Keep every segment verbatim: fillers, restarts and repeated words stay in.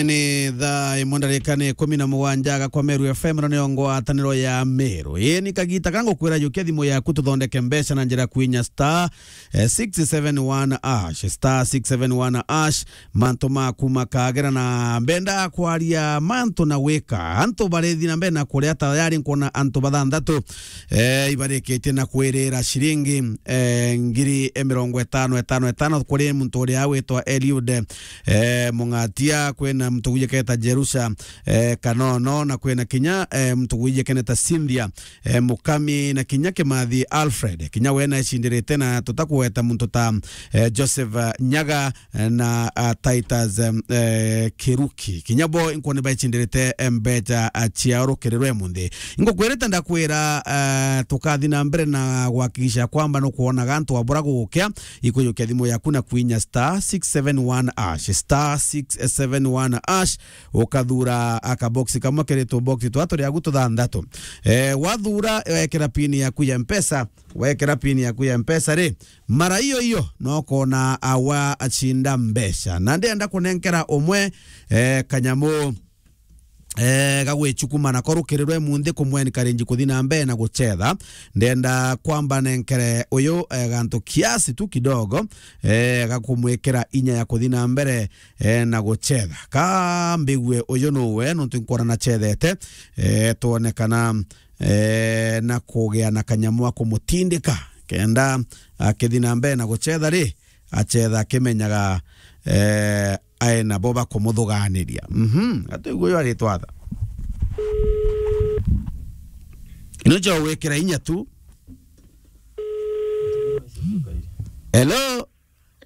Ni thaa imwe ndarika ni ikumi na mugwanja aga kwa Meru F M, ino niyo ngwataniro ya Meru. Ii ni kagita ka ngukwira jukia thimu yaku tuthondeke mbeca na njira kwinya star, eh, six seven one hash, star six seven one hash. Mantu maku makagera na mbenda kwaria mantu na gwika. Antu barithi na mbere na kuria tayari, nkwona antu bathanthatu, eh, ibarikitie na kwirira ciringi, eh, ngiri mirongo itano, itano, itano kuri muntu uria witwa Eliud, eh, Mung'atia, kwina muntu gwijiketa Jerusha, eh, Kanono, na kwina kinya, eh, muntu gwijikene ta Cynthia, eh, Mukami, na kinya Kimathi Alfred. Kinya we naecindirite na tutakugweta muntu ta, eh, Joseph, eh, Nyaga, eh, na, ah, Titus, em, eh, Kiruki. Kinya bo inkwona baicindirite, eh, mbeca, ah, ciao rukiri rwa imunthi. Ingukwirite ndakwira, eh, tukathi na mbere na gwakikisha kwamba nukwonaga antu abura gukia, ikujukia thimu yaku na kwinya star six seven one hash, star six seven one hash, ukathura akaboksi kamwe kiri tuboksi twa turi agu tuthanthatu. Eh, wathura, wekira pin yaku ya Mpesa, wekira pin yaku ya Mpesa ri, mara iyo iyo, no kona awa acinda mbeca. Na ndenda kunenkera umwe, eh, kanyamu, eh, gagwicukuma nako rukiri rwa imunthi kumwe encourage kuthi na mbere na gucetha. Ndenda kwamba nenkere uyu, eh, gantu kiasi tu kidogo, eh, gakumwikira inya ya kuthi na mbere, eh, na gucetha. Ka mbigue uyu nuwe, nontu nkwona nacethete, eh, twone kana eh, na kugia na kanyamu ga kumutindika, kenda akithi na mbere na gucetha ri, acetha akimenyaga, eh, ae nabo bakumuthuganiria. Mhm, atuigwe uyu aritwa atha. Ino cio gwikira inya tu. Hello?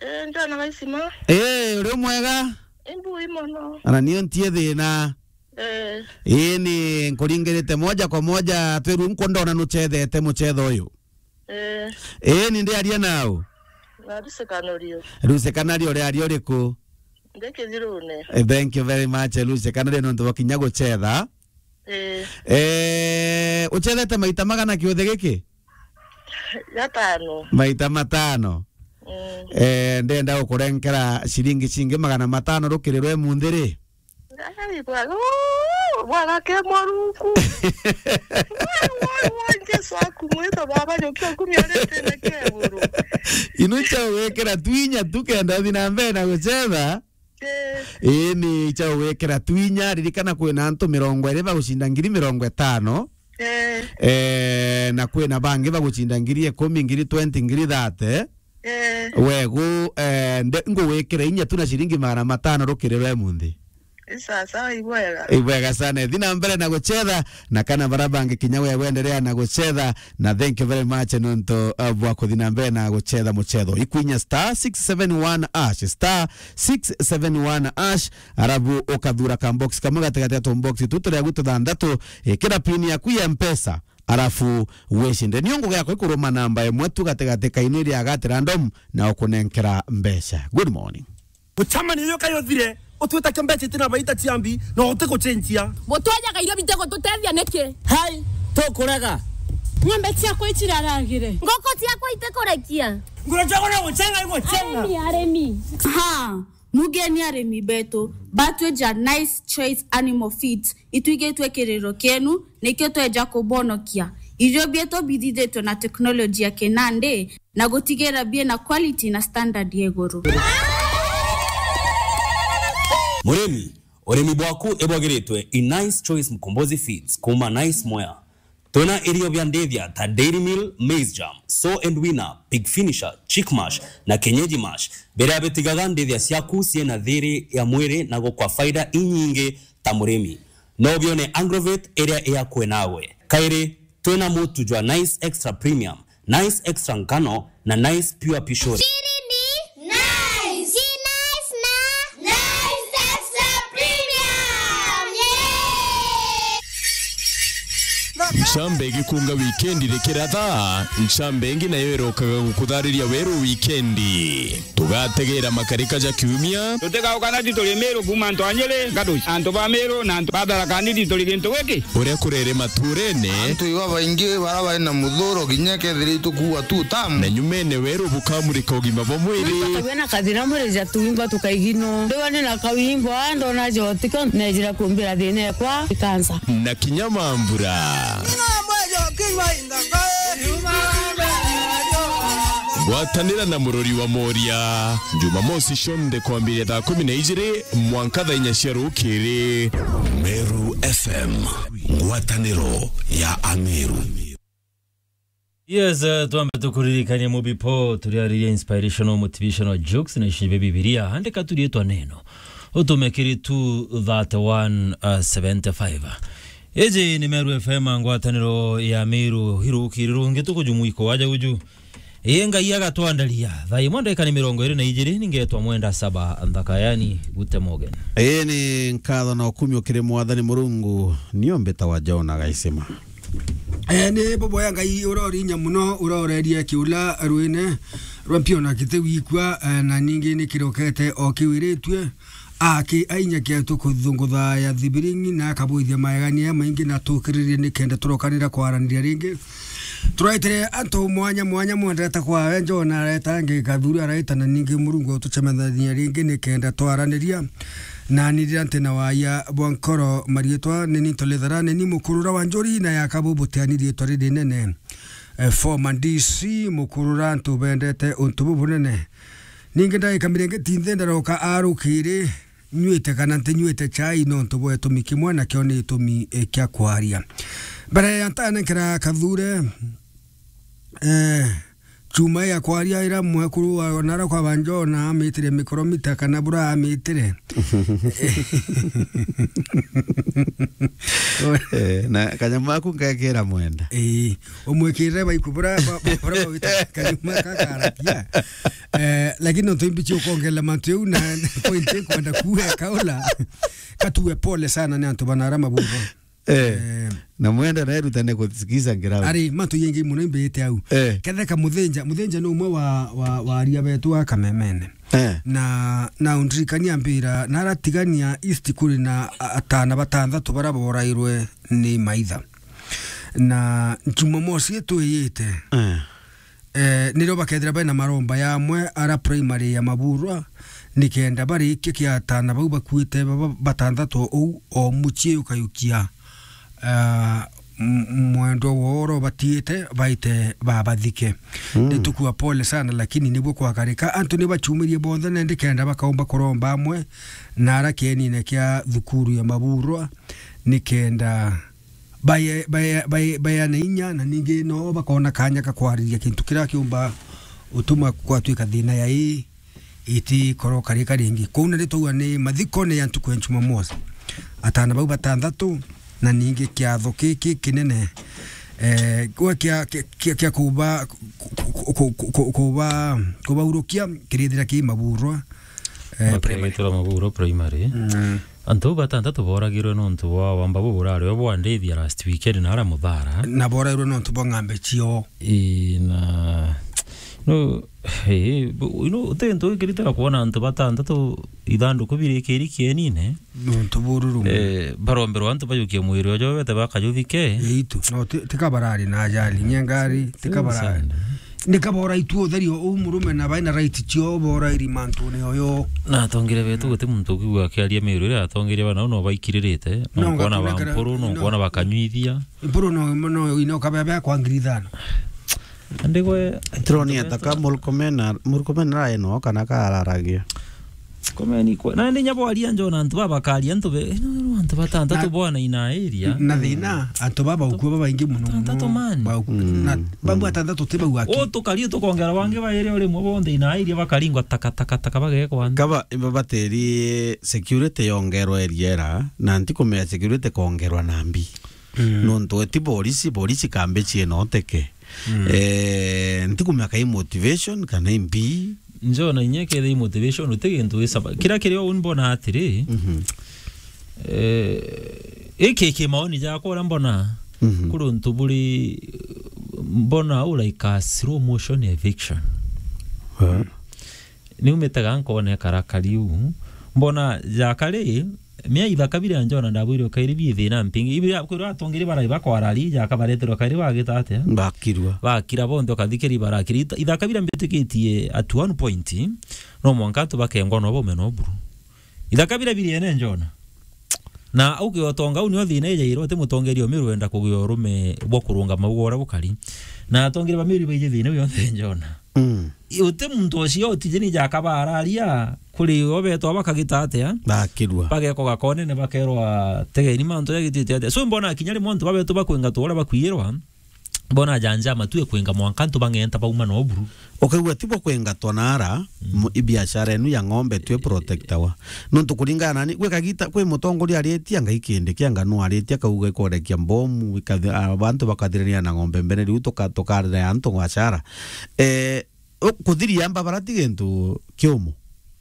Eh, njana gaisima. Eh, uri mwega? Imbu imono. Ana nio ntie thina. Eh. Ii ni nkuringirite moja kwa moja, twiru nkundona nucethete mucetho uyu. Eh. Ii ni ndiaria nau. Na Lucy Kanario. Lucy Kanario, uri aria uriku? Ndi Kithirune. Eh, thank you very much, Lucy Kanario, nontu bwa kinya gucetha. Eh. Eh, ucethete maita magana kiuthi giki? Gatano. Maita matano. Mm. Eh, ndenda gukurenkera ciringi cingi magana matano rukiri rwe munthi ri? Ai, bwana. Uu, bwana ke moruku. Wai, wai, wai, Jesu aku mwito baba, nyokia kumi arete na keguru. Inu cia gwikira twinya tu kenda uthi na mbere na gucetha. Eh. Ii ni cia gwikira twinya, ririkana kwina antu mirongo iri bagucinda ngiri mirongo itano. Eh. Eh, na kwina bangi bagucinda ngiri ikumi, ngiri twenty, ngiri thirty. Eh. Wegu, eh, nde-, ngugwikira inya tu na ciringi magana matano rukiri rwe munthi. Ii sawa sawa, ibwega. Ibwega sana. Thi na mbere na gucetha, na kana bara bangi kinya we wenderea na gucetha, na thank you very much nontu, uh, bwa kuthi na mbere na gucetha mucetho. Ikwinya star six seven one hash, star six seven one hash, arabu ukathura ka box kamwe gatigati ya tu box tu turia gwi tuthanthatu, ikira pin yaku ya Mpesa, arafu wicinde. Nio ngugi yakwa ikuruma namba imwe tu gatigati kaini ria gati random na ukunenkera mbeca. Good morning. Gucamania iyo kayo thire, utwita kia mbeca itina baita ciambi, na utigucenjia. Gutwajaga irio bitigututethia niki? Hai, tukurega. Ng'ombe ciakwa iciraragire. Ngoko ciakwa itikurekia. Nguru ciakwa no gucenga igucenga. Arimi, arimi. Ha, mugeni arimi betu, batweja Nice Choice Animal Feeds, itwigitwe kiriro kienu, nikio tweja kubonokia. Irio bietu bithithitwe na teknoloji ya kinandi, na gutigira biina quality na standard ya iguru. Murimi, urimi bwaku ibwagiritwe i Nice Choice Mkombozi Feeds kuma Nice Mwea. Twina irio bia ndithia ta Dairy Meal, Maize Germ, Sow and Weaner, Pig Finisher, Chick Mash na Kienyeji Mash, biria bitigaga ndithia ciaku ciina thiri ya mwiri na gukwa faida inyingi ta murimi. No bione Agrovet iria i akui nawe. Kairi, twina mutu jwa Nice Extra Premium, Nice Extra Ngano na Nice Pure Pishori. Siri ni Nice. Ji Nice na Nice Extra Premium. Yay! Ncambe igikunga wikendi rikiratha, ncambe ingi nayo irokaga gukuthariria weru wikendi. Tugategera makarika ja kiumia. Tutigauka na ti turi Miru kuuma antu a Nyeri, Gaduci, antu ba Miru na antu ba Tharaka Nithi turi gintu giki. Uria kurere maturene. Antu iba baingi bara bari na muthuro kinya kethira itukuua tu tamu. Na nyumene weru bukamurika ugima bwa mwiri. Twina kathina mwiri ja tuimba tukaigino. Ndiwa ni na kawimbo, ah, ndona jotiko, nejira kumbira thina ekwa, ikansa. Na kinya mambura. Gwatanira na murori wa Moria. Jumamosi cionthe kwambiria thaa kumi na ijiri mwanka thaa inya cia rukiri. Meru F M, ngwataniro ya Ameru. Yes, eh, twambe tukuririkanie mubipo turiaririe inspirational motivational jokes na ici bia Bibilia. Andika tu riitwa neno. Utume kiri two thirty-one, uh, seventy-five. Iji ni Meru F M, ngwataniro ya Miru, irukiri rungi tukujumuiko waja uju. Ii Ngai agatwandaria. Thaa imwe ndagika ni mirongo iri na ijiri, ningetwa Mwenda Saba Nthaka, yani Gute Morgan. Ii ni nkatho na ukumio kiri Mwathani Murungu, nio mbitawa Jona Gaisima. Eh, ni buboya Ngai urorinya muno, urorerie kiula rwine rwa mpio na kiti wikua, eh, na ningi ni kirokete o kiwiritue. Aki ainya kietu kuthunguthaya thibiringi na akabwithia maegania maingi na tukiririe nikenda turokanira kwaraniria ringi. Turaitire antu mwanya mwanya mwendete kwawe, Jona areta angi Kathuri araita na ningi Murungu utucemethania ringi nikenda twaraniria. Na ni riria nti na waia bwa nkoro mariitwa ni ni Ntolithara, ni ni Mukurura wa Njuri na yakabu butiani riitwa ririnene. Eh, former D C Mukurura, antu bendete untu bubunene. Ningi ndagika miringi tinthe ndaroka arukiri, nyuite kana ntinyuite chai nontu bwa itumi kimwe, nakio ni itumi, eh, kia kwaria. Mbere ya ntanenkera Kathure, eh, chuma ya kwaria ira mwekuru wa nara kwa banjona amitire mikoromita kana bura amitire. Eh, na kanyamu aku ngekira Mwenda. Eh, umwikirire baiku bura, ba-, ba-, bura bawita kanyuma kakarakia. Eh, lakini nontu imbichi ukongerera mantu jau na point ikwenda kuuga kaula, katue pole sana ni antu banara mabubo. Eh, eh, na Mwenda naerutane kusikiza ngirabu. Ari, mantu yengi muno imbite au. Eh. Ketheka Muthinja, Muthinja ni umwe wa, wa, wa aria betu a Kamemene. Eh. Na, na undirikania mbira, naratigania East kuri na a-, atana batanthatu bara borairwe ni maitha. Na Jumamosi itwiyite, eh, eh, nirio bakethira bena maromba yamwe ara primary ya Maburwa, nikenda barikia kia atana bau bakuite baba batanthatu uu o mucii ukayukia, ah, m-, mwendwa woro batiite baite babathike. Mm. Nitukua pole sana, lakini nibwo kwakarika. Antu nibachumirie bonthe, na ndikenda bakaumba kuromba amwe na ara kienine kia thukuru ya Maburwa, nikenda baye-, baye-, baye-, bayeane inya, na ningi no bakona kanya ka kwariria kintu kiria kiumba utuma kwatwika thina ya ii iti koroka rika ringi. Kou na ritwauga ni mathikone ya ntuku ya Jumamosi. Atana bau batanthatu, na ningi kiatho kiki kinene, eh, gwe kia, kia, kia, kia kuba, ku-, ku-, ku-, ku-, ku-, kuba, kubaurukia kirithira ki Maburwa, eh, primary. Bakirithira Maburwa primary. Mm. Antu bau batanthatu boragirwe nontu bwa wamba buburario bwa ndithia last weekend na ara Muthara. Na borairwe nontu bwa ng'ambe ciao. Ii, na, no, ii, bu-, you know, uti ntu ikiritira kwona antu batanthatu ithanduku birikiri kienine. Nontu bururu. Eh, baromberwa antu bajukie mwiri ojo bete bakajuthike. Itu, no, ti-, tika barari na ajali, nyengari, tika barari. Sana. Nika bora itu utheri o-, u murume na baina right cio bora iri mantune oyo. Na atongire betu guti muntu ukiigua akiaria miuru iria atongeria bana no baikiririte. No, no kwona ngatunengera, bampuru, no no. Kwona bakanyuithia. Mpuru no, no, ino kabebe kwa ngiri ithano. Andi gwe, turoni ataka Murkomen, Murkomen arae no kana kararagia. Komeni kwa. Na ndi nyabo aria njona antu baba karia antu be, ino antu batanthatu bwana ina area. Na thina, antu baba ukua baba ingi muno muno. Batanthatu man. Ba-, mm, na babu atanthatu ti bau aki. O tukari tukongera bangi bairi uri mwe bonthe ina area bakaringwa taka, taka, taka bagekwa. Kaba, iba bateri security yongerwa area era, na ntikumea security kongerwa na mbi. Mm. Nontu eti borisi, borisi kambi cienoteke. Mm. Eh, ntikumea kai motivation kana imbi. Njona inya kethei motivation, uti gintu gisaba. Kira kiria uni mbona atiri, mhm, eh, iki ki maoni jakwa uria mbona, Mhm. Kuri untu buri, mbona u like a slow motion eviction. Eh. Niumite ga nkone karakari u. Mbona jakari, mia ithaka biria njona ndabwire ukairi bi thina mpingi. Ibia kwirwa atongeri barai bakwara ri jaka bareterwa kairi bagita atia? Bakirwa. Bakira bonthe ukathikiri barakiri. Ith-, ithaka biria mbitikitie at one point, no mwanka antu bakengwa no baume no buru. Ithaka biria biri ene njona. Na au ki utonga u nio thina ijairwo, ti mutongeria umiru wenda kugia urume bwa kurungama uguo uria bukari. Na atongeri ba miru baiji thina u yonthe njona. Mm. I-, uti muntu ucio utijeni jaka bararia, kuri o betwa bakagita atia? Bakirwa. Bageko gakonene bakerwa, "Tegeni mantu jagitite atia?" So mbona kinya rimwe antu babetu bakwinga tu uria bakwirwa, mbona janja matue kwinga mwanka antu bang'enta bauma no buru. Ukaigua ti bo kwengatwa naara, mm, mu-, i biashara enu ya ng'ombe tue protectawa. Nontu kuringana nani, gwi kagita, kwi mutongoria aritie, anga ikindi kia ngano aritie, akauga ikorekia mbomu, ikathi-, a, bantu bakathirania na ng'ombe mbere, riu tuka-, tukarire antu ngwachara. Eh, u-, kuthiria mbabara ti gintu kiumu.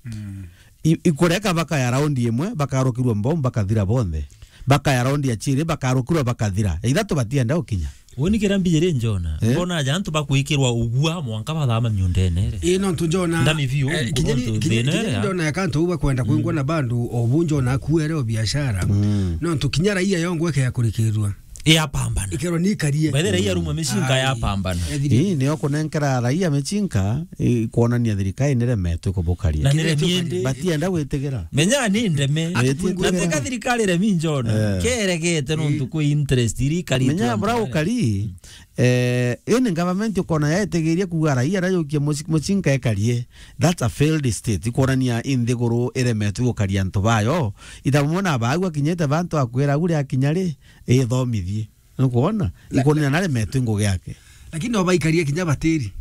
Mm. I-, ikureka bakaya raundi imwe, bakarukirwa mbomu, bakathira bonthe. Bakaya raundi ya chiri, bakarukirwa, bakathira. Ya ithatu batienda ukinya. Woni kira mbijiri njona, eh? Mbona aja antu bakwikirwa ugua mwanka bathama miundene iri. Ii, nontu njona, ndami biu, eh, kinya ni, nontu kinya, thina kinya iri ni ya. Ndona ya kantu uba kwenda kwingwa, mm, na bandu o bu njona akuere o biashara. Mm. Nontu kinya raia yongwe ke ya kurikirwa. Yapambana. Ikerwa ni ikarie. By the way, raia rumwe micinka, ai, yapambana. Ethiri. Ii, nio kunenkera raia micinka, i, kuonania thirikari niremetwe kubukaria. Na niremie ndi. Batienda gwitigira. Menya ni ndeme. Ati, na teka thirikari remi njona. Eh. Keregete nontu kwi interest iri ikari. Menya bra ukari, eh, ini government ukona yaetegeria kuga raia rajukia muci-, mucinka ekarie. That's a failed state. Ikuonania inthiguru iremetwe gukaria antu bayo. Ithamwe na baagua kinyite bantu akwira agure akinya ri, ithomithie. Nukwona? La-, ikonena naremetwe ngugi yake. Lakini no baikarie kinya batiri.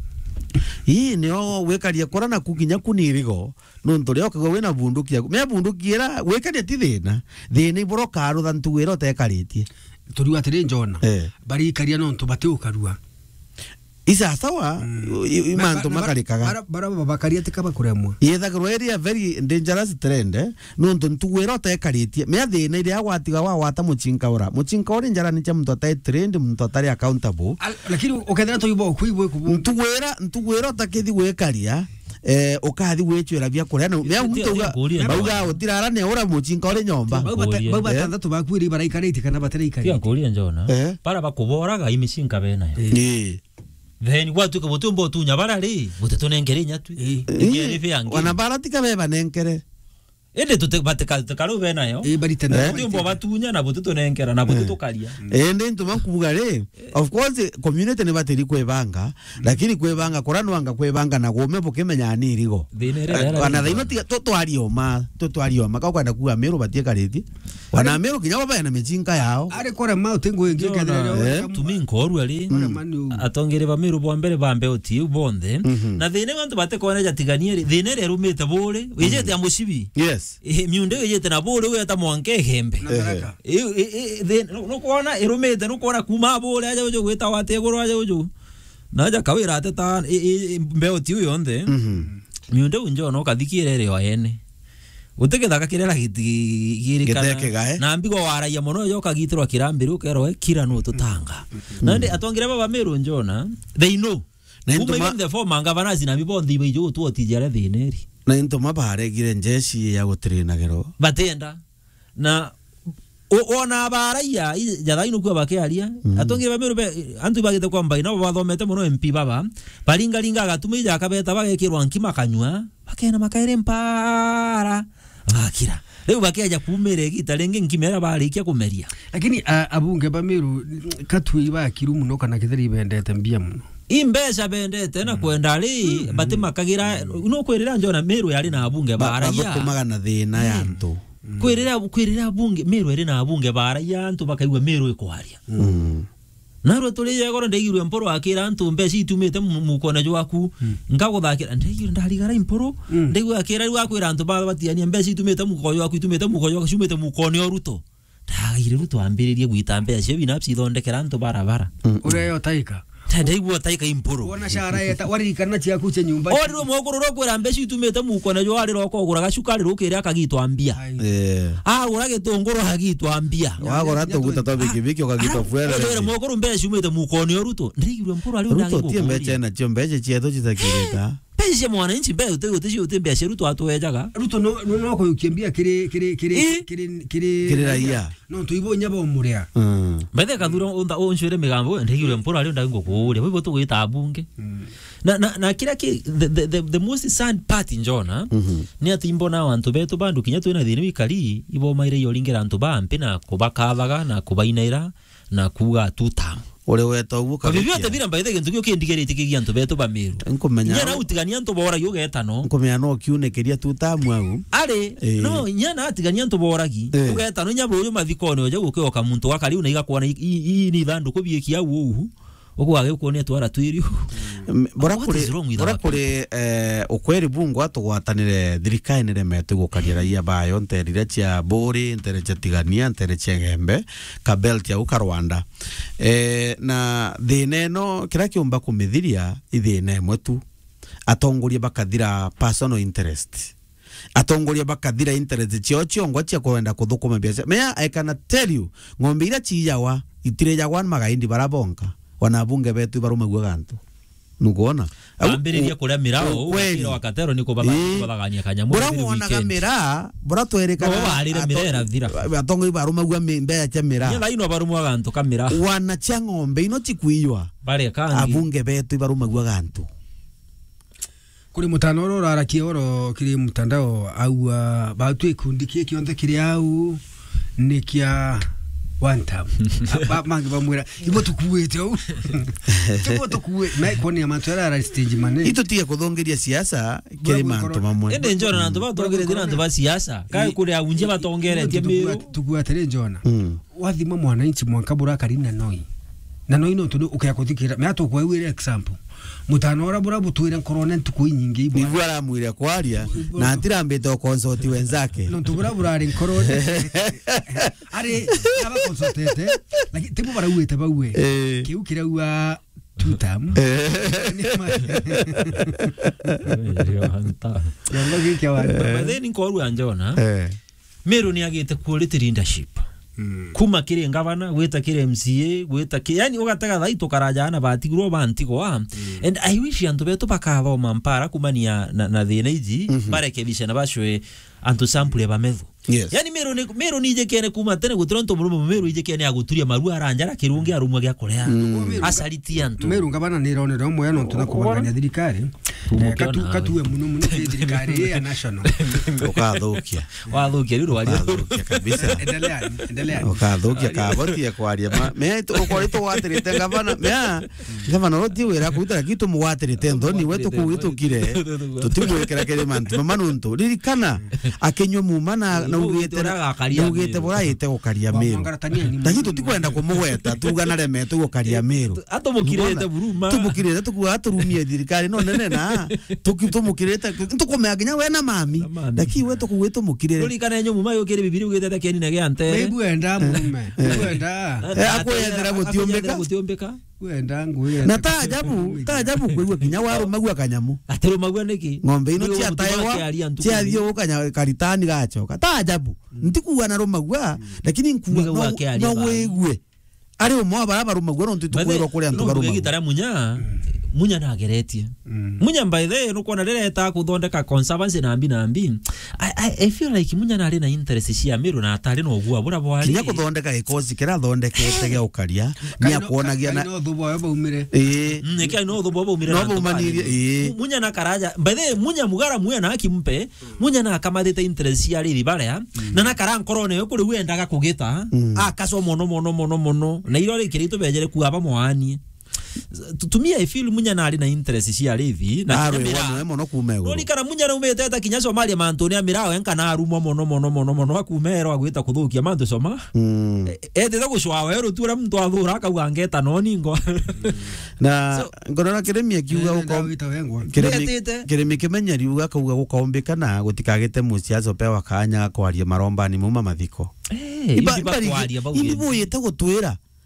Ii, nio gwikaria kura naku kinya ku ni irigo. Nontu rio ukigwa wina bunduki yaku. Mea bunduki ira gwikaria ti thina. Thina ibura ukarutha ntugu ira utekaritie. Turiu atiri njona. Eh. Barikaria nontu batiukarua. Isasawa, mm, i, i, ba-, mantu ba-, makarikaga. Bara, bara babakaria tika bakuremwa. Yethagirwa iri a very dangerous trend, eh? Nontu ntugu ira utekaritie. Mea thina iria gwatiga wagwata mucinka ura. Mucinka uri njarani cia muntu atai trained, muntu atari accountable. Al-, lakini ukethira tuibo kuibwe kubu. Ntugu ira, ntugu ira utakithi gwikaria, eh, ukathi gwicwira bia kuria. Na mea muntu uga, bauga utirara ne ura mucinka uri nyomba. Bau bata-, bau batandatu bakuiri baraikaritie kana bataraikaria. Tiga nkuria njona. Eh? Bara bakuboraga imicinka benayo. Eh. Eh. Then gwatuika gutiumba utunya bara ri, gutitunenkere inya twi. Ii. Ingeri bia ngi. Wana bara tika beba nenkere. Indi tuti-, batika-, tutikariu benayo. Ii, barite nayo. Gutiumba batunya na butitunenkera na butitukaria. Indi ntuma kubuga ri, of course, community ni batiri kwibanga, lakini kwibanga kura nwanga kwibanga na gume bukimenya ni irigo. Thina iri. Eh, wana thaino tiga, tu-, twarioma, tu-, twarioma, ka ukwenda kuga Meru batiikaritie. Wana Meru kinya bo bena micinka yao. Ari kurema uti ngui ingi. Njona, kethira rio, eh, weka tumi nkorua ri. Kurema ni u. Atongeri ba Meru bwa mbere ba mbeuti iu bonthe. Mhm. Na thina iu antu batikona jatiganie ri. Thina iria irumite buri, wijite ya mucibi. Yes. Eh, miunda iu ijite na buri, weta mwanka Igembe. Na Tharaka. Eh, eh, eh, thi-, nu-, nukwona irumite, nukwona kuma buri aja uju gwita wate iguru aja uju. Na aja kawira ateta, i, i, i, mbeuti iu yonthe. Mhm. Miunda iu njona ukathikira iri o ene. Guti githaka kiria giti-, girikana. Gitekegae. Na mbigo waragia mono, yo ukagitirwa kirambi riu ukerwa we kira nu tutanga. Mm. Na ndi atongire baba Meru njona, they know. Na kuma intuma even the former governors na mbi bonthe iba ijo gutwotithia aria thina iri. Na intuma baregire njeshi ya gutirinagirwo. Batienda. Na o-, ona baraia, i-, jathaino kuo bakiaria, mm, atongire ba Meru be, antu bagite kwa mbai, nabo bathomete mono M P baba, baringaringa agatuma ija akabeta bagekirwa nkima kanyua, bakena makaere mpara, bakira. Riu bakiaja kumira igita ringi nkima iria barikia kumeria. Lakini, a, abunge ba Meru, katui ba kiru muno kana kitheri bendete mbia muno. I mbeca bendete na, mm, kwenda ri, mm, batimakagira, no kwirira njona Meru yari na abunge ba, baraia. Bathukumaga na thina ya, mm, antu. Kwirira, kwirira abunge, Meru iri na abunge baraia, antu bakaigua Meru ikwaria. Mm. Narua turi yegoro ndaigirwe Mpuru akira antu mbeca itumite mu-, mukone jwaku, mm, nkaguthakira, ndaigirwe ndarigara Mpuru, mm, ndaigua akira riu akwira antu ba batiania mbeca itumite muko jwaku, itumite muko jwaku, ciumite mukone o Ruto. Ndagaire Ruto ambiririe gwita mbeca cio binafsi ithondekera antu barabara. Mm. Uria yo taika. Ta ndaigua taika impuru. Wona shara yeta, waririkana ciaku cia nyumba. Orirwe mwekuru ro kwira mbeca itumite mukone jo ari ro kogura gacukari rukire akagitwa mbia. Ai. Eh. Agura gitunguru akagitwa mbia. Wagura tuguta twa bikibiki ukagitwa fuel. Orirwe mwekuru mbeca ciumite mukone o Ruto. Ndigirwe mpuru ari Ruto tie mbeca na cio mbeca cietu citakirita. Mbeca cia mwananchi mbeca uti, uti, uti mbeca Ruto atwejaga. Ruto no, no, no kuyukia mbia kiri, kiri, kiri, Ii. kiri, kiri, Kiri raia. No tuibo inya bo muria. Mm. Mbethe kathura unta unshwire migambo, ndigirwe mpuru ari ndai ngukuria. Bibo tugwita abunge. Mm. Na, na, na kira ki, the, the, the, the most sad part, Njona, Mhm. ni ati imbona antu betu bandu kinya twina thina wikari, ibo maire yoringira antu ba mpi na kubakathaga na kubainaira na kuuga two term. Uri weta uguo. Kwa vyovyote vile, by the way, gintu kiu kindigirite kigia antu betu ba Meru. Nkumenya Inya no na utigania antu boragia ugetano. Nkumenya no kiune kiria two term au. Ari, Eh. no, inya na atigania antu boragi. Eh. Ugetano inya buyu mathikone oje gukioka muntu wa kariu na igakwona i, i, i ni ithanduku biekia au uu. Ugu agikuone twara twiri. M-, bora What kuri, is wrong with bora our kuri, eh, ukweri bungu atugwatanire thirikari niremete gukaria raia bayo ntere iria cia Buri, ntere cia Tigania, ntere cia Gembe, ka belt au ka Rwanda. Eh, na thina ino, kira kiumba kumithiria, i thina imwe tu. Atongoria bakathira personal interest. Atongoria bakathira interest ciao ciongwa cia kwenda kuthukuma biacara. Mea, I can tell you, ng'ombe iria ciijawa, itirijagwa ni magaindi bara bonka. Wana abunge betu ibarumagua gantu. Nukwona? Au, Ambiriria u-, kuria mirao, ukweli. Ugatira wakatero ni kubatha-, Ii. kubathagania kanyamu Bura every wonaga weekend. Miraa, bura twerikana No, barire ato-, miraa irathira. Atongoria barumagua mi-, mbeca cia miraa. Nyela ino barumwa gantu ka miraa. Wana cia ng'ombe ino cikwiiywa. Bare kangi. Abunge betu ibarumagua gantu. Kuri mutano oro urarakia oro kiri mutandao, aua, batu ikundi kii kionthe kiri au ni kia one term. Ba-, bangi bamwira, "Ibo tukuite au." Tibo tukue-, na kwoni ya mantu ara ara stage mane. Itu tige kuthongeria siasa kiri Bura mantu mamwe. Ende Njona na antu batongere thina antu ba siasa. Kai Ii. kuri aunje batongeretie Ibo Meru. Tukua-, tukua atiri Njona. Mm. Wathima mwananchi mwanka burakari na noi. Na noi nontu ni ukea kuthikira. Mea tukwewire example. Mutano ura bura butwire nkorone ntuku inyingi ibwa. Nigua aramwire kwaria, Ibwa. na atirambite o consult wenzake. Nontu bura burari nkorone. Ari, aba consultete, lakini tibo barauite baue. Eh. Kiu kiraua two term. Eh. Ni ma- Kiongo giki kia watu. But then nkorua Njona. Eh. Meru ni agite quality leadership. Mm. Kuma kiri ngavana, gwita kiri M C A, gwita ki-, yani, ugatega thai tukaraja na batigirwo ba ntigwa. Mm. And I wish antu betu bakathoma mpara kumania na, na thina iji, Mhm. barekebisha na bacwe antu sample ba methu. Yes. Yani, Meru ni, Meru ni ijikene kuma tene gutira ntu murume Meru ijikene aguturia maru aranjara kirungi arumwa gia kuria. Mm. Acaritie antu. Meru ngavana ni ironere umwe nontu na Ukubona? kubangania thirikari. Eh, Mukiona katu-, awe. Katue muno muno kiri thirikari ya national. Ukathukia. Wathukia riu rwaria. Ukathukia kabisa. Endelea, endelea. Ukathukia kabotie kwaria ma. Me tu-, ukori tugwatirite ngavana. Mea, ngavana ro ti wira kuruta, lakini tumugwatirite nthoni, we tukuwitukire. Tutimwikira kiri mantu mama nuntu. Ririkana, akinyua muma na, na Niguo ugite, ugite uragakaria na ugite Meru. Buraite gukaria Meru. Wamwangaratania ni Lakini mama. Tutikwenda kumugweta, tuga na remetwe gukaria Meru. Atumukirite Unaona? buruma. Tumukirite, tukuga aturumie thirikari no nene na tuki-, tumukirite, tukumea nginya we na mami. Na mami. Lakini we tukuga tumukirire. Rurikana enyo muma yukire Biblia ugitete kieni na gia ntere. Maibu enda mume. Eh. Maibu enda. Eh, akwethera gutiumbika. Gutiumbika. Wenda ngwira Na ati ta ajabu, ta ajabu kwigua kinya warumagua kanyamu. Atirumagua niki? Ng'ombe ino Ndio cia muntu taewa, wake aria ntuku cia nini. Thiu kanya karitani gachoka. Ta ajabu. Ntikuga na rumagua, lakini nkuga Nigauga no, ake aria no ba. Wigue. Ari umwe wa bara barumagua nontu Bathe, tukwirwa kuri antu no mbuge barumagua. Gitara Munya, Munya nageretie. Mm. Munya by the way, nukwona riria eta kuthondeka conservancy na mbi na mbi. I, I, I feel like Munya nari na interest cia Meru na atari na ugua bura bwari. Kinya kuthondeka gikosi kira athondekete gia ukaria, ni Kai no, akuonagia kai na no thubu ayo baumire. Ii. Mm, ni kai no thubu ayo baumire No na antu baumanire, bari. Ii. Mu-, Munya na karaja. By the way, Munya mugara Munya na akimpe, Munya na akamathite interest cia riri baria, Mm. na na kara nkorone yo kuri wendaga kugita, Mm. akaswa mono, mono, mono, mono. Na iro rikiri itubejere kuaba mwaanie. Tu-, to me, I feel Munya nari na interest cia arithi, na Arwe kinya miraa. Wone mono kuma iguru. Nurikana Munya naumite eta kinya Somalia mantune ya miraa, enka na arumwa mono, mono, mono, mono, akuma ero agwita kuthukia mantu Soma. Mm. E-, etite gucwa weru tu uria muntu athura akauga ngeta no ningo. Na So, ngorora kirimi akiuga Nenda uko-, wita wengwa. kirimi, Metite. kirimi kimenyeri uga akauga gukaumbika na gutikagite musiasa upewa kanya ga kwaria marombani mauma mathiko. Eh, Iba-, ibi bakwaria bau imbi gini. Buyite gutwira.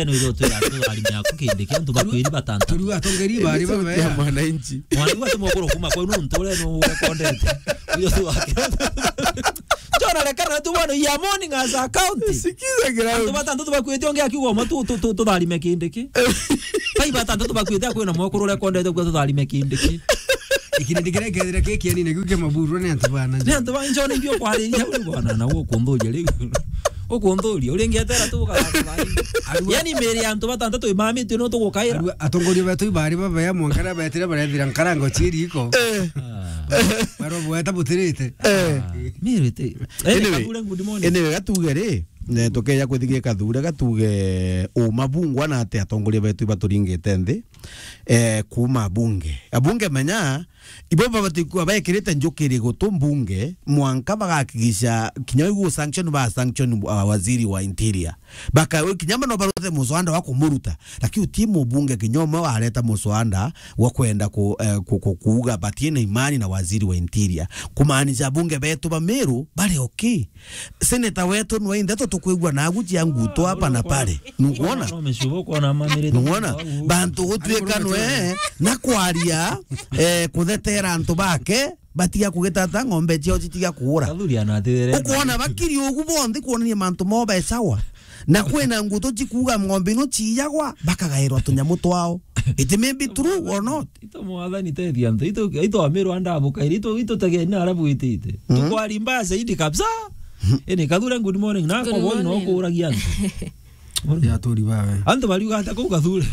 ene uyo twira tu ari miaku kindi kia antu bakwiri batanta. Turiu atongeri bari baba ya mwananchi. Mwana wa tumo koro kuma kwa nuntu ore no urekondete. Uyo tu wake. Jona rekana tu bwana ya morning as a county. Sikiza gira. Antu batanta tu bakwite onge akiuga mo tu tu tu tutharime kindi ki. Pai batanta tu bakwite akwina mo koro urekondete kwa tutharime kindi ki. Ikindi kira kethira kikiani ne guke maburu ne antu bana. Ne antu bana njone ndio kwariria uri bwana na gukunthuria riu. Ukunthuria, uringetera tu ukarara. Arua- Yani miri ya antu batantatu imamitue no tugukaira. Arua atongoria betu ibari babea mwanka na betire barethira nkarango ciiri iko. Eh. Ah. Baro bweta butirite. Eh. Mirite. Anyway, anyway, gatuge ri, ne tukeja kwithigia kathure gatuge uma bungwa na ati atongoria betu ibaturingite nthi, eh, kuma bunge. Abunge menya, ibo babati kuba bekirite njukiri gutu mbunge, mwanka bagakigisha kinya igu sanction ba sanction, uh, waziri wa interior. Baka kinya mano barute muswanda wa kumuruta. Lakini uti mubunge kinya umwe wareta muswanda wa kwenda ku, eh, ku, ku, kuuga batie na imani na waziri wa interior. Kumaanisha bunge betu ba Meru bari okay. Senator wetu nwe inthe tutukwigua nagu cia nguto hapa na pale. Nukwona? Nukwona? Bantu gutwika nwe na kwaria, eh, kuthetera antu bake, batiga kugitata ng'ombe ciao citiga kuura. Ukwona bakiri ugu bonthe kuonania mantu mao be sawa. Na kwina nguto cikuuga ng'ombe ino ciiyagwa, bakagairwa tunyamu twao. It may be true or not. Ito mwathani tethia antu, ito, ito amirwa ndabukaire, ito, ito tegeni na arabu itite. Mm. Tukwari mbaya zaidi kabisa. Ene Kathure, good morning. Na kwa boy no kuragia antu. Ya turi bawe. Antu bariuga ata kuu Kathure?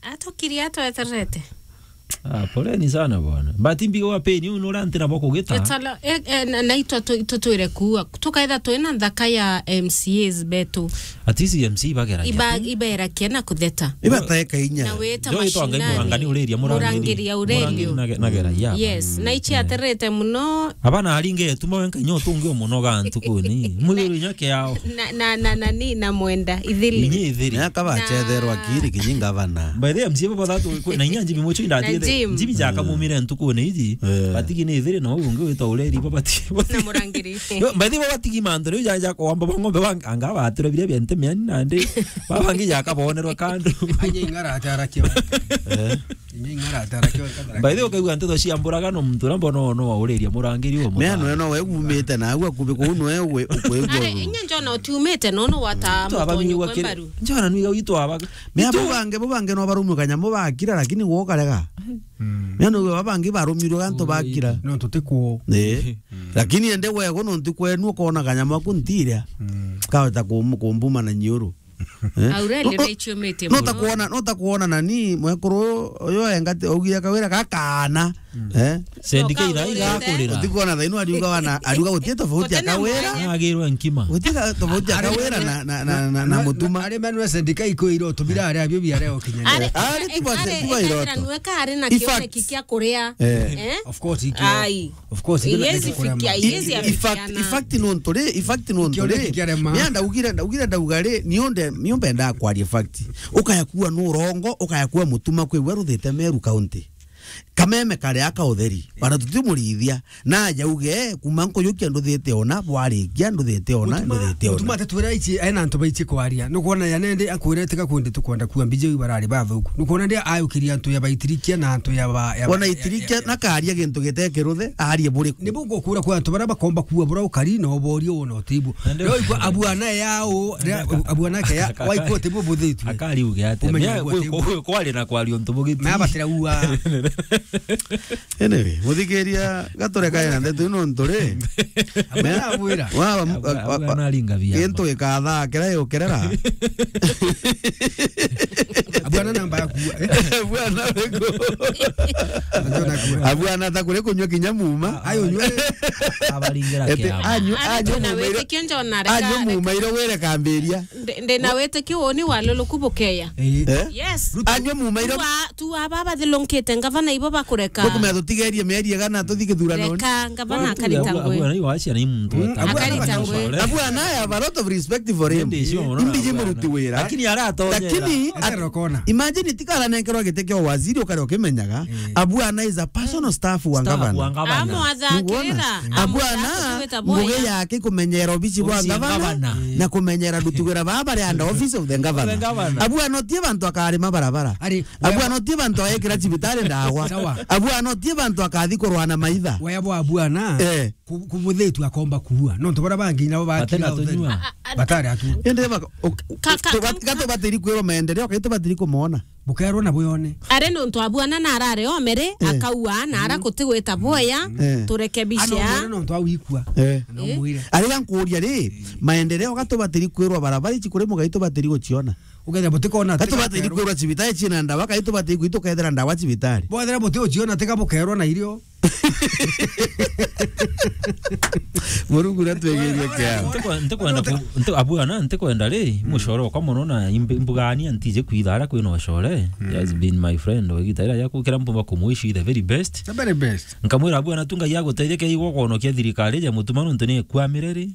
Atukiri atweterete. Ah, poleni sana bwana. But mbigo wa peni, unu urantira bwa kugita. Etala, eh, eh, na, na itwa tu-, itutwire kuua. Tukaitha twina nthaka ya M C As betu. At least M C ibageragia Iba-, tu. Iberakia na kutheta. Ibateka inya. Na weta Joy twa Ngai mashinani. Murangani ureria, Murangiri. Murangiri ya urerio. Murangiri nage-, nageragia. Yes, na ichi aterete muno. Abana aringe tuma wenka inya utungi umuno ga ntukuni. Mwiri inya kiao. Na, na, na, na, ni, na mwenda, ithiri. Inyi ithiri. Miaka bacetherwa Na- kiri kinyi ngavana. By the way, M C A baba thatu kwi-, na inya njimi mucho indati Na Jim. Njimi jaka mumire ntukuni iji. Eh. Batigi ni ithiri na uu ungi witwa ureri baba ti-, Na Murangiri. Yo, by the way, baba tigi mantu riu ja, ja kwamba ba ng'ombe ba anga batire biria bia nte miani nandi. Baba ngi jaka bonerwa kandu. Anye ing'ara atarakia. Eh. By the way, ukaigua nteto cia mburagano, muntu uria mbona no, no wauriria Murangiri uyu. Meano eno we umite na agua kubi kuu no we ukwigua. Are, inya njona utiumite no, no wata Twaba mutonyo migwa kwe kiri. Mbaru. Njona nwiga witu abaga. Me abo bange, bo bange no barumwe kanyamu bakira, lakini gwo karega. Mm. Meano we babangi barumirwe gantu bakira. No tutikwo. Eh. Mm. Lakini ende wego no ntikwenu ukona kanyamu aku ntiria. Mm. Kaweta kum-, kumbuma na nyiuru. Eh? Aureli No, no, raichio mete no muno. Takuona, no takuona nani, mwekuru uyu engati, augire kawira gakana. Mm. Eh? Sendi No, kaira kaurite. Igakurira. Utikuona thaino ariuga wana, ariuga gutie tofauti ya Gutena kawira. Mwanya. Agirwe nkima. Gutie tofauti ya Ari kawira manu-, na, na, na, na, na na, mutuma. Ari manu sendika iko iro tubira ari abio biare okinya. Ari, Ari ari, tiba, ari, tiba ari, iroto. Nwe kari na In fact, kioneki kia kuria. Eh. Eh? Of course, ikio. Ai. Of course, ikio na Yes, kikuria fikia, ma- yes, I-, in fact, afikiana. In fact, no nturi, in fact, no Ikio nturi. Ni kiarema. Ni ndaugire, ndaugire, ndauga ri, ni unde, ni umbe nda kwaria fact. Ukaya kuwa no rongo, ukaya kuwa mutuma kwi we ruthite Meru County. Kameme kare aka utheri. Bana tutimurithia. Na aja uge, kuma nkujukia nduthite ona, bwarikia nduthite ona, Mutuma, nduthite ona. Mutuma atetwira ici, ena antu baici kwaria. Nukwona ya nende akwira tiga kundi tukwenda kuwa mbiji iu barari bathuku. Nukwona ndia ayukiria antu ya baitirikia na antu ya ba-, ya ba-, Bona ya, itirikia ya, ya. Na karia gintu gite kiruthe, arie buriku. Nibu ngukura kwa antu baria bakomba kuwa bura ukari na uborio wona utibu. Nende- Leo ikwa abuana yao, ria-, abuana ke ya, waikwa utibu buthitwe. Akari uge atia? Umenye Mea ugu kwi-, utibu. Kwi-, kwari na kwaria untu bugiti. Mea batira uwa. Anyway, muthikiria, gaturekae na ndeto ino ntu ri. Abwira, abwira. Wa, wa, Abwa-, wa, abwa wa, naringa bia gintu ma. Gikathaa kiria yukerera. Abwana namba yaku, eh? Abwana wego. Abwana naku. Abwana ta kuri kunywa kinya muma. Ayo nywe. Abaringira Ete, kiama. Anyu, Ari anyu twina mumairo, witikio njona reka, anyu reka. Mumairo were kambiria. Ndi, ndi na witikio woni wa luluku bukeya. Eh. Eh? Yes. Ruto. Anyu mumairo. Tu a-, tu aba bathilunkite ngavana ibo bakureka. Tukumea tutigerie mieri igana tuthi githurano. Reka ngavana Watu akarita ya ngwe. Abwana iwacia ni muntu Mm, weta. Abwana Akarita ngwe. Abwana, I have a lot of respect for him. Ndi sio, unaona, Imbiji abwana. Muruti wira. Lakini aratonyera. Lakini Ete at-, rokona. Imagine tikara nenkerwa gite kio waziri ukare ukimenyaga. Eh. Abwana is a personal staff wa Staff wa ngavana. Ngavana. Amwathakira. Nukwona? Abwana, Amwathakira. Ngugi yake kumenyera obici bwa Obici ya ngavana, ngavana. Na kumenyera ndutugira baba bari under office of the governor. The governor. Abwana otie bantu akarima barabara. Ari, Abwana otie bantu ayekira cibitari ndawa. Sawa. Abwana otie bantu akathi kurwana maitha. Waya bwa abwana. Eh. Ku-, kubuthitwe akomba kuua. Nontu baria bangi nabo bakira Batena utheri. Tunyua. Batari atu. Ende baka, ok, Ka-, ka-, tubat-, ka-, ka-, gatubatiri kwirwa maendeleo, kai tubatiri kumona. Bukerwo na buyone. Ari nontu abwana na arare omere, Eh. Akaua, na ara gutigwita boya, Eh. Turekebishe. Ano mwire nontu awikua. Eh. Ano Eh. Mwire. Ari ga nkuria ri, maendeleo gatubatiri kwirwa barabara ici kuri mugai tubatiri guciona. Ukethira butikona Ka tubatiri kwirwa cibitari cina ndawa, kai tubatiri gwitu kethira ndawa cibitari. Bwethira buti uciona tiga bukerwo na irio. Murungu natwegerie kiao. Ntikwe-, ntikwenda ku-, nti-, abwana, ntikwenda ri, mucore okwa muno na imb-, imbugania ntije kwitha ara kwina ucore. He has been my friend, o igita ira yakukira mpumba kumwishi the very best. The very best. Nkamwira, abwana, tu Ngai agutethia kia igwa kwonokia thirikari ja mutuma nontu ni ikwamire ri.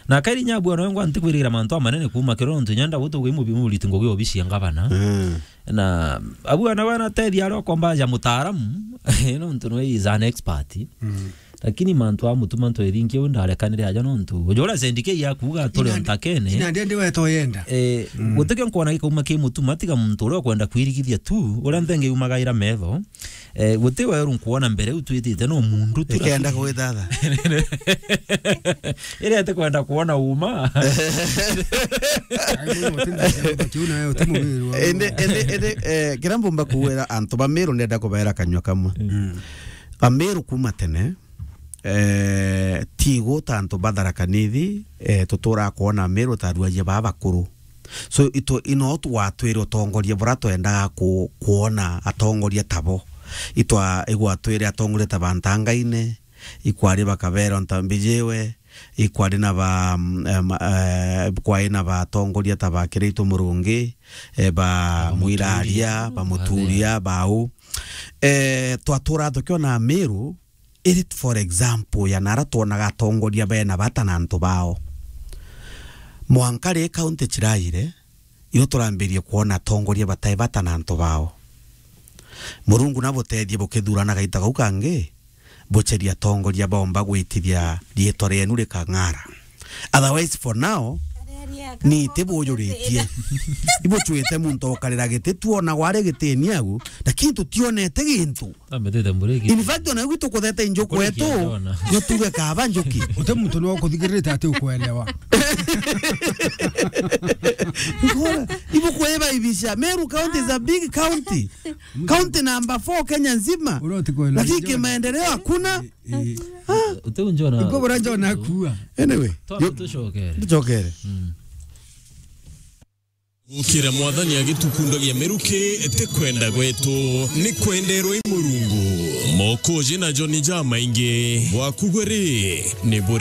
Na kairi nya abwana wengwa ntikwirigira mantu amanene kuuma kiro nontu nyanda gutu gwi mubi muriti ngugi obici ya ngavana. Mm. Na abwana bana tethi aria okomba ja mutaaramu, nontu nwe is an expert. Mm. Lakini mantu a mutuma ntwethingi u ndarekanire aja nontu. Ujora sendike ya kuuga turi Ina ndi-, ntakene. Ina ndi ndi weto yenda. Eh, Mm. Gutikio nkwona gikauma ki mutuma tiga muntu uria ukwenda kwirigithia tu, uria nthenge yumagaira metho. Eh, guti weru nkwona mbere u twitite no mundu tu. Ikenda gwithatha. Iria itikwenda kwona uma. Ai, muno, uti-, uti-, uti-, uti-, uti-, Indi, indi, indi, eh, kira mbumba kuwira antu ba Meru ndenda kubaira kanyua kamwe. Mm. Ba Meru kuma tene, eh, tigu ta antu ba Tharaka Nithi, eh, tutura kwona Meru ta aruaria baa bakuru. So, itu, ino twatwire utongoria bura twendaga ku-, kwona atongoria tabo. Itwa-, igwatwire atongoria ta ba Ntangaine, ikwari ba Kabero Ntambijiwe, ikwari na ba, mm, em, eh, kwari na batongoria ta ba Kiraitu Murungi, eh, ba Ba Mwiraria, Muturia. Ba Muturia, bau. Eh, twatura tukiona Meru, iri for example ya nara twonaga atongoria bena bata na antu bao. Mwanka ri county ciraire, irio turambirie kwona atongoria batai bata na antu bao. Murungu nabutethie bukithurana gaita gau kangi, buceria atongoria baomba gwitithia riitwa rienu rikang'ara. Otherwise, for now, ni tibujuritie. Ibucwite muntu ukarira giti, twona gwari gitini agu, lakini tutionete gintu. Ambitite mburiki. In fact, ona gwitu kutheta injuku Mburiki etu, ajona. Gutuge kaba njuki. Uti muntu no kuthikirite ati ukwelewa. Ngora, ibu kweba ibisha. Meru County is a big county. County number four Kenya nzima. Uria utikwelewa. Lakini kimaendeleo hakuna. Eh. Uti unjona. Iko bora njona kuwa. Anyway, Twambe yo-, tucokere. Tucokere. Mm. Gukira Mwathani agitukundagia miruki, ti kwenda gwetu, ni kwenderwa i Murungu. Mokoji na Joni jamaingi, bwaku gwe ri, ni buri